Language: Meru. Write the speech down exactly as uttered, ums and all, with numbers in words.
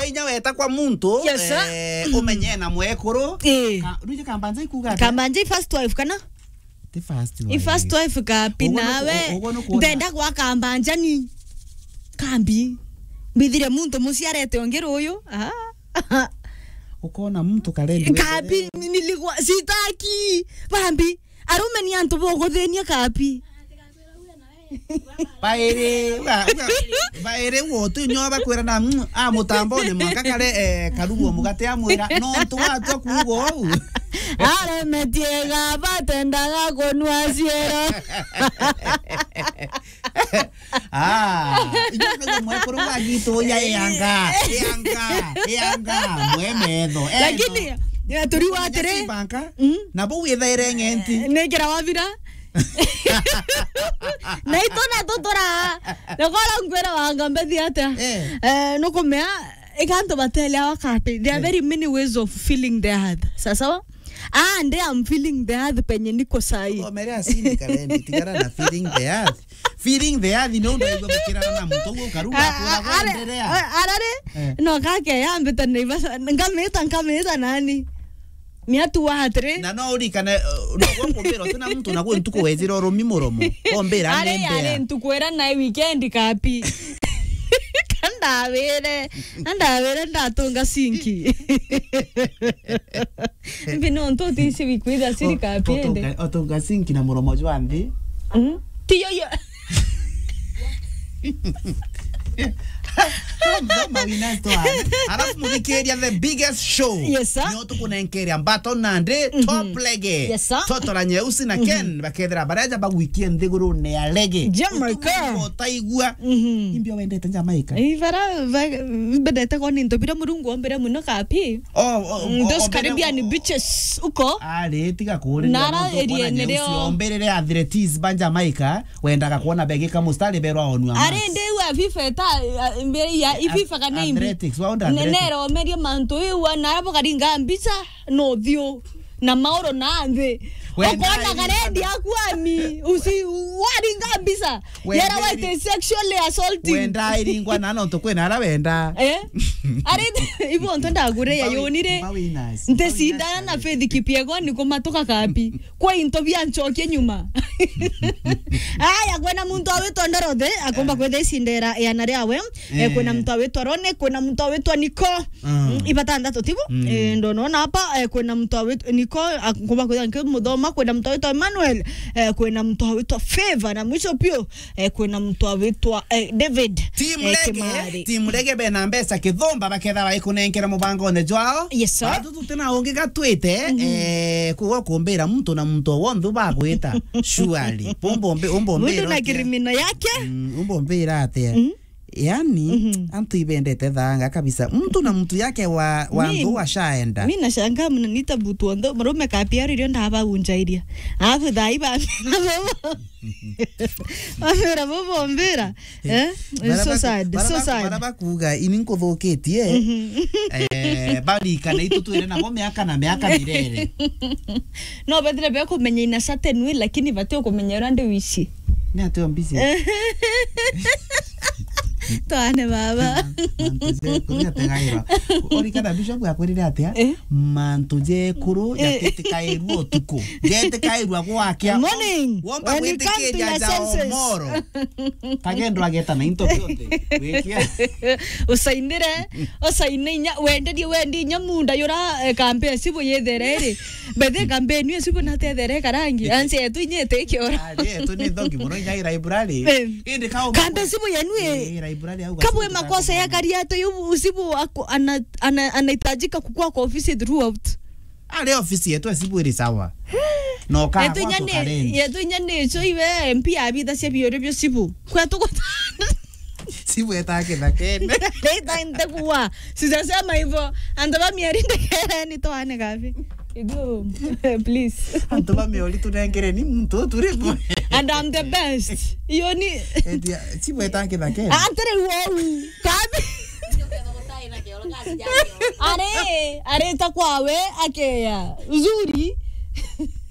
Inya weta kwa muntu, yes, sir, eh, umenye na mwekuru. Eh. Ka-, ruje Kambanja ikuga atia? Kambanja i first wife kana? Ti first wife. I first wife kapi. Uguo nuku-, nawe. Uguo nukuona. Ndenda gwa Kambanja ni. Kambi. Mbithire muntu muciarete ungi ruyu. Ah. Ukona muntu karendi. Kambi, nilikuwa sitaki. Bambi. Arume ni antu boguthinia kapi. Bairi, uga, uga, bairi wotu nyo bakwira na, mm, a mutambone mwanka kare, eh, karugu mugate amwira, nontu watwa kuuga uu. Aremetie ga batendaga kunua ciero. Ah, ijo ndio mwekuru wa gitu ya yanga, yanga, yanga, mwe metho. Eh, lakini, no. Ya turi wa atiri. Banka, mm, na bau ithaire ng'enti. Ni kira wabira. Na itu na tutura. Na kora ngwira wanga mbethi atia? Eh. Eh, nukumea, ikantu batele wakati. There are, eh, very many ways of feeling the earth. Sawa sawa? Ah, nde I'm feeling the earth penye niko sahi. Omere asini kalendi, tigara na feeling the earth. Feeling the earth ni undu aigua gukirana na muntu uguo ukaruga. Ah, akura ah, are, gwenderea. Ah, arari? Eh. No kake yambita Naivasha, nkamita, nkamita nani? Ni atu wa atiri. Na no urikane, eh, no gwa kumbira utina muntu na gwe ntuku wejira urumi muromo. Ombira are, ni mbea. Are ntuku ira na weekend kapi. Kandawire, kandawire ndatunga sinki. Mbi no ntu tisi wikwitha sirika piende. Otunga, otunga sinki na muromo jwa nthi. Mm. Tiyo yo. Mama wina twa. Alafu muthikiria the biggest show. Yes, sir. Nio tukunenkeria mbato nandi, mhm, top lege. Yes, sir. Toto la nyeusi na, mhm, Ken bakethira bareja bagwikie nthigurune ya lege. Jamaica. Utugu utaigua. Mhm. Imbio wendete Jamaica. Ivara, va-, mbendete koni into bira Murungu ombire muno kapi. Oh, oh, mm, oh, those ombere Caribbean beaches uko. Ari, tiga kuurira. Nara area nene rio. Ombirire athletes ba Jamaica, wendaga kuona begika mustari berwa onua. Ari, ndi wa FIFA ta, a, mbere ya, a, FIFA kana imbi. Athletics, wa onda ne-, athletics. Nero merie mantu iwa, nara bokaringa mbica, no thiu. Na mauro na nthi. Wenda okona iringwa karendi na aku ami, usi, waringa mbica. Wenda yara iri-, waite sexually assaulting. Wenda iringwa na nontu kwina ara wenda. Eh? Ari, ibo nto ndagure ya yonire. Mbawi nasi. Nte sindana na Faith Kipyego ni kumatuka kapi. Kwa into bia nchokie nyuma. Aya, kwena muntu awitwa Ndorothe, akomba, eh, kwetha icindera yana riawe. Eh, kwina, eh, muntu awitwa Rone, kwina muntu awitwa Niko. Mm. Mm, ibatandatu tibo? Mm. Eh, ndonona hapa, eh, kwina muntu awitwa Niko, akomba kwitha nki muthoma, kwina muntu awitwa Emmanuel, eh, kwina muntu awitwa Favor, na mwisho pio, eh, kwina muntu awitwa, eh, David, team eh, Lege, Kimari. Team Lege bena mbeca kithumba baketha baikunenkera mubangone jwao. Yes, sir. Batu tutina ungi gatwite, mhm, eh, kuga kumbira muntu na muntu wonthe bagwita. Surely. Umbo mbi-, umbo muntu mbira na utia? Criminal yake. Mm, umbo mbira atia? Mhm. Yani, mhm, antu ibendete thanga kabisa. Mtu na mtu yake wa, wa mi-, nthu washaenda. Mi nashangaa mnaniita mtu wa nthu, murume kapiari rio ndaba unjairia. Alafu thaa iba. Bamira bobo mbira. Eh? It's so sad, so sad. Bara bakuga, ini nkuthukitie. Mhm. Eh, bari kana itu twire nabo miaka na miaka mirere. No, bethire be kumenya in a certain way, lakini bati kumenya uria ndi wici. Ni ati ombisi. Twane baba. Mantu jekuru jategairwa. Urikana Bishop akwirire atia? Eh? Mantu jekuru, eh, jatitikairua utuku. Jetikairua gwakia. Morning. Womba when you come to gwitikiria your ja senses. Omoro. Kagendo ageta na into bionthe. Wikia. Usainire, usaine inya, wenderie wendi inya munda yura, eh, kambe sibu yethere iri. Bethe kambe ni sibu na tethere karangi. Anse yetu inya ete kiora. Ari, yetu ni thogi muno inya i library. Eh. Indi kau kambe sibu yenu i. Eh, library au kabwe makosa ya kariato yu sibu ako-, ana-, ana-, anahitajika kukua kwa ofisi throughout. Ari ofisi yetu esibu iri sawa. No ka yetu kwa inya ni, tukarendi. Yetu inya ni cho iwe M P abitha cia biore bio sibu. Kwa tuko sibu eta kithakene. Leta nte kuwa. Sijasema hivyo. Antu ba mieri ndekere ni twane kabi. Igo, please. Antu ba mieri tunengere ni muntu turi mwe. And I'm the best. Iyo ni etia, sibu eta kithakene. Antere wou. Kabi. Are, areta kwawe akeya. Uzuri.